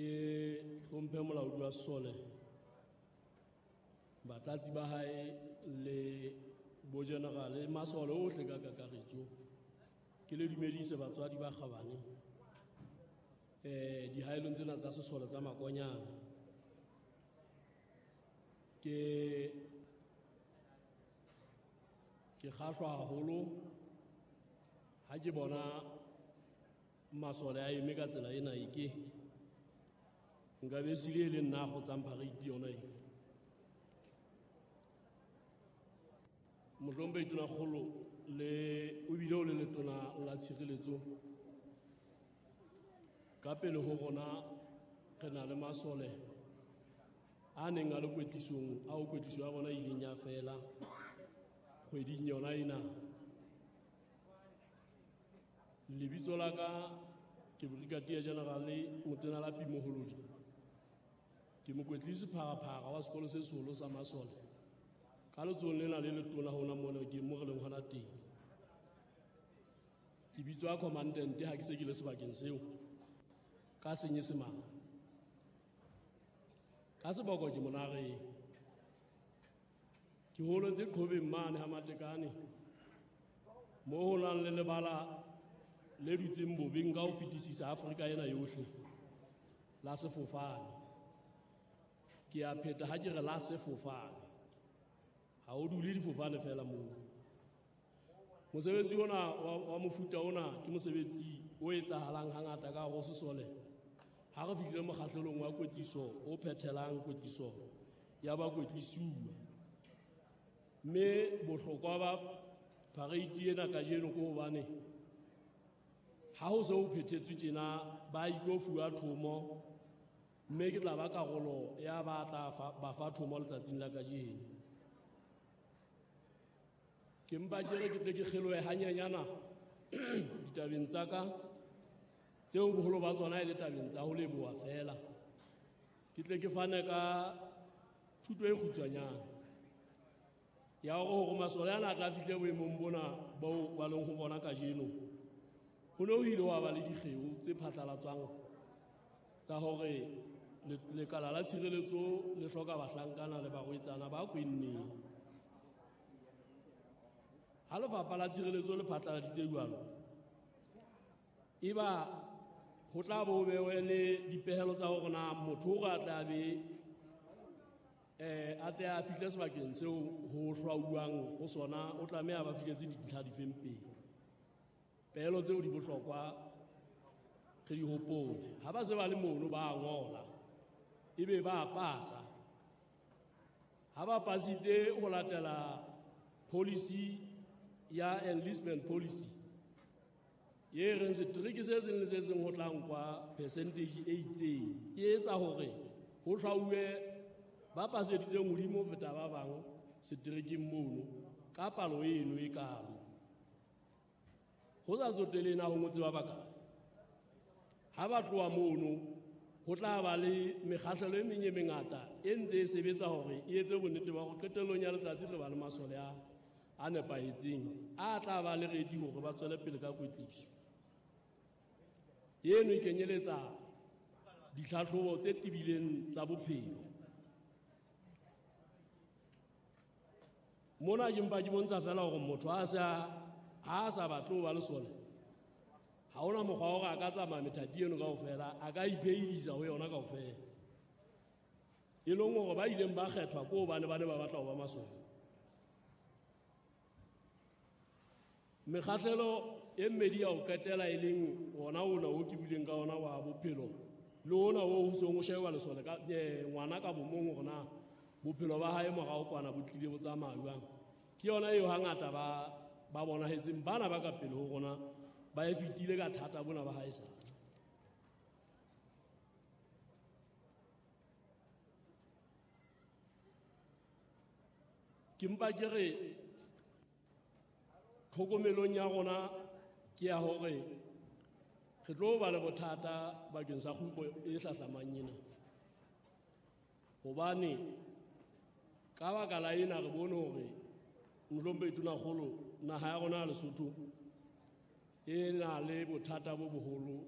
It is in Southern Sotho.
Ke hlomphe molaodi wa sesole, batlatsi ba hae le bojenerale, masole ohle ka kakaretso. Ke le dumedise batswadi ba kgabane dihaelong tsena tsa sesole tsa Makonyana. Ke kgahlwa haholo ha ke bona masole a eme ka tsela ena e ke nka be sile e le nna a kgotsang parade yona e. Mohlomphehi Tonakgolo le o bile o le letona la tshireletso, ka pele ho rona re na le masole a neng a le kwetlisong, ao kwetliso ya bona e ileng ya fela kgweding yona ena. Lebitso la ka ke Brigadier General Motena Lapi Moholodi. Ke mokwetlisi pharaphara wa sekolo se seholo sa masole. Ka letsohong lena le letona hona mona ke mo re leng hona teng. Ke bitswa commandant ha ke se ke le sebakeng seo ka Senyesemane. Ka seboko ke Monareng. Ke holetse Qhobeng mane ha Matekane, mo ho nang le lebala le dutseng bobeng ka ho fetisisa Afrika ena yohle la sefofane. Ke a pheta ha ke re la sefofane, ha o dule difofane fela moo. Mosebetsi ona wa mofuta ona ke mosebetsi o etsahalang hangata ka hare ho sesole. Ha re fihlile mokgahlelong wa kwetliso o phethelang kwetliso ya bakwetlisiwa. Mme bohlokwa ba parade ena kajeno ke hobane ha ho se ho phethetswe tjena ba itlo fuwa thomo, mme ke tla ba karolo ya ba tla ba fa thomo letsatsing la kajeno. Ke mpa ke re ke tle ke kgelohe hanyenyana ditabeng tsa ka tseo boholo ba tsona e le tabeng tsa ho leboha fela. Ke tle ke fane ka thuto e kgutshwanyane ya hore masole ana a tla fihle boemong bona boo ba leng ho bona kajeno. Ho ne ho ile wa ba le dikgeo tse phatlalatswang tsa hore lekala la tshireletso le hloka bahlankana le barwetsana ba kwenneng. Ha lefapha la tshireletso le phatlaladitse jwalo, eba ho tla bo bewe le dipehelo tsa hore na motho o a tla be a tle a fihle sebakeng seo ho hlwauwang ho sona, o tlameha ba fihletse dintlha difeng pele. Pehelo tseo di bohlokwa re di hopole. Ha ba se ba le mono ba ngola, ebe ba pasa. Ha ba pasitse ho latela policy ya enlistment policy ye reng setereke se seng le se seng ho tla nkwa percentage e itseng, e etsa hore ho hlwauwe ba paseditseng hodimo ho feta ba bang seterekeng mono ka palo eno e kalo. Ho sa tsotelehe na ho ngotse ba bakae. Ha ba tloha mono ho tla ba le mekgahlelo e meng e mengata e ntse e sebetsa hore e etse bonnete ba hore qetellong ya letsatsi re ba le masole a nepahetseng a tla ba le ready hore ba tswele pele ka kwetliso. Eno e kenyeletsa ditlhatlhobo tse tebileng tsa bophelo. Mona ke mpa ke bontsha fela hore motho ha sa batle ho ba lesole, ha hona mokgwa wa hore a ka tsamaya methati eno kaofela, a ka iphehidisa ho yona kaofela. E leng hore ba ileng ba kgethwa ke hobane ba ne ba batla ho ba masole. Mekgahlelo e mmedi ya ho qetela e leng ona ona o ke buileng ka ona wa bophelo le ona o ho seng o sheba lesole ka ngwana ka bomong hore na bophelo ba hae morao kwana bo tlile bo tsamaya jwang. Ke yona eo hangata ba bonahetseng bana ba ka pele ho rona ba e fetile ka thata bona ba hae sa. Ke mpa ke re tlhokomelong ya rona ke ya hore re tlo ba le bothata bakeng sa kgutlo e hlahlamang ena. Hobane ka baka la ena re bone hore Mohlomphehi Tonakgolo, naha ya rona ya Lesotho e na le bothata bo boholo